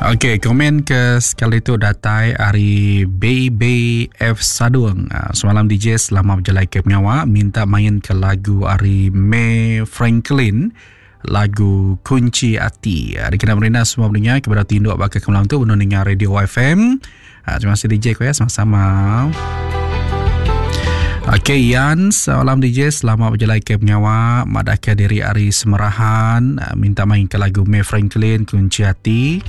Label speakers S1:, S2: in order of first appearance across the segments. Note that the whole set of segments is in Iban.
S1: Okey, komen ke sekali tu datai ari BBF Sadung. Ah, semalam DJ selama berjalai ke pengawa minta main ke lagu ari May Franklin lagu Kunci Ati. Ah, dikena merina semua pendengar kepada tinduk baka ke malam tu benung ninga radio YFM. Ah, terima kasih DJ ko ya sama-sama. Okey Ian, salam DJ selamat berjalai ke pengawa madahka diri ari Semerahan ah, minta main ke lagu May Franklin Kunci Hati.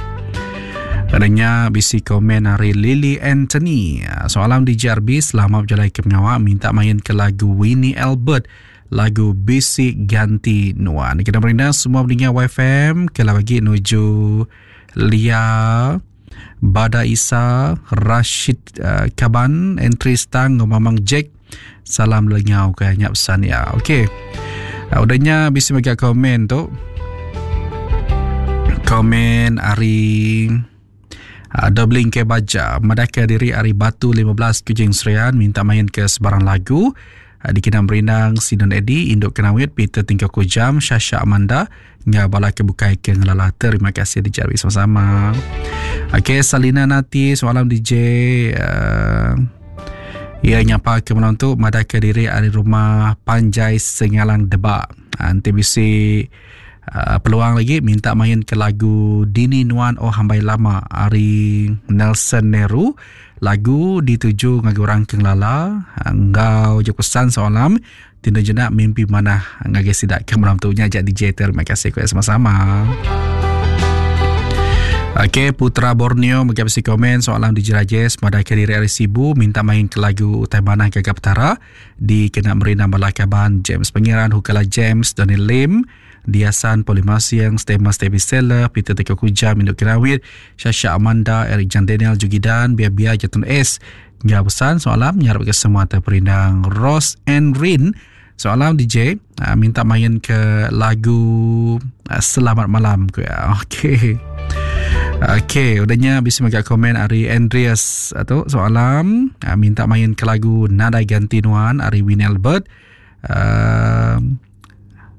S1: Adanya bisi komen ari Lily Anthony. Ah, soalan DJ RB selamat berjalai ke pengawa minta main ke lagu Winnie Albert lagu Bisi Ganti Nuan. Kita merindang semua pendengar YFM ke lagi nuju Lia Bada Isa, Rashid uh, Kaban, Entry Stang, enggau Mamang Jack. Salam lenyau ke nya pesan ya. Okey. Uh, udahnya bisi mega komen tu. Komen ari uh, Doubling ke Baja madahka diri ari Batu 15 Kuching Serian minta main ke sebarang lagu. Dikena merindang Sinon Eddy, Induk Kenawit, Peter Tingkau Kujam, Shasha Amanda, enggau bala ke bukai ke ngelala. Terima kasih DJ Arwi sama-sama. Okey, Salina Nati, semalam DJ uh, ia nyapa ke malam tu madah ke diri ari rumah Panjai Sengalang Debak. Nanti bisi uh, peluang lagi minta main ke lagu Dini Nuan Oh Hambai Lama ari Nelson Nehru. Lagu dituju ngagai orang ke ngelala enggau jaku pesan soalam tinda jenak mimpi manah ngagai sida ke malam tu nya aja DJ terima kasih ku sama-sama. Okey, Putra Borneo mega bisi komen soalan DJ Rajesh madah ke diri ari Sibu minta main ke lagu Utai Manah Gaga Petara dikena meri nama bala kaban James Pengiran, Hukala James, Donny Lim, Diasan Polimasing, Stema Stevi Seller, Peter Teko Kuja, Minduk Kirawit, Shasha Amanda, Eric Jan Daniel, Jugidan, Bia Bia Jatun S. Enggau pesan soalam nyarap ke semua terperindang Rose and Rin. Soalam DJ ah, minta main ke lagu ah, Selamat Malam ku ya. Okey. Okey, udahnya bisa mega komen ari Andreas atau soalam ah, minta main ke lagu Nadai Ganti Nuan ari Win Albert. Uh,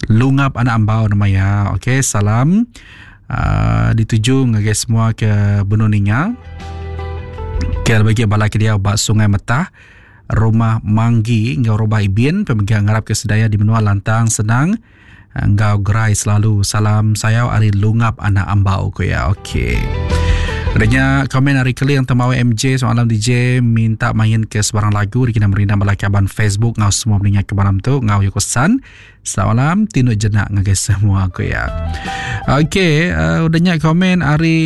S1: Lungap anak ambau nama iya. Okey, salam uh, dituju ngagai semua ke benung ninga. Ke bagi bala ke dia ba Sungai Metah, Rumah Manggi enggau Rumah Ibin pemegang ngarap ke sedaya di menua lantang senang enggau gerai selalu. Salam sayau ari Lungap anak ambau ku iya. Okey. Adanya komen ari Keling Temawai MJ soalan DJ minta main ke sebarang lagu dikena merindang bala kaban Facebook ngau semua peningat ke malam tu ngau Yoko San. Selamat malam tinduk jenak ngagai semua aku ya. Okey, uh, udah nya komen ari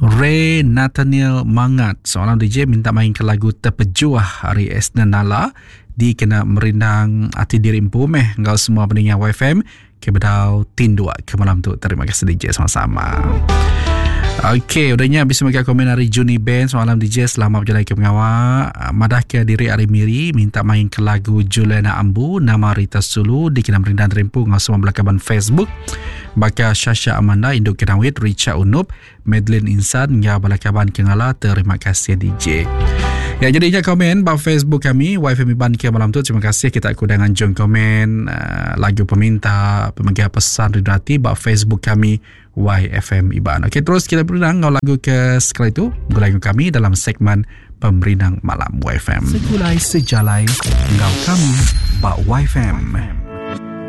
S1: Ray Nathaniel Mangat seorang DJ minta main ke lagu Terpejuah ari Esna Nala dikena merindang ati diri empu meh enggau semua peningat YFM Ke bedau tinduk ke malam tu. Terima kasih DJ sama-sama. Okey, udah nya bisa mega komen ari Juni Ben semalam DJ selamat berjalan ke pengawa. Ah, madah ke diri ari Miri minta main ke lagu Juliana Ambu nama Rita Sulu dikena merindang terimpu ngau semua belakaban Facebook. Baka Shasha Amanda Induk Kenawit Richard Unup Madeline Insan enggau bala kaban ke ngala terima kasih DJ. Ya jadi nya komen ba Facebook kami YFM Iban ke malam tu terima kasih kita ku dah nganjung komen uh, lagu peminta pemegang pesan rindu hati ba Facebook kami YFM Iban. Okey terus kita berundang enggau lagu ke sekali tu gulai kami dalam segmen Pemerindang Malam YFM.
S2: Segulai sejalai enggau kami ba YFM.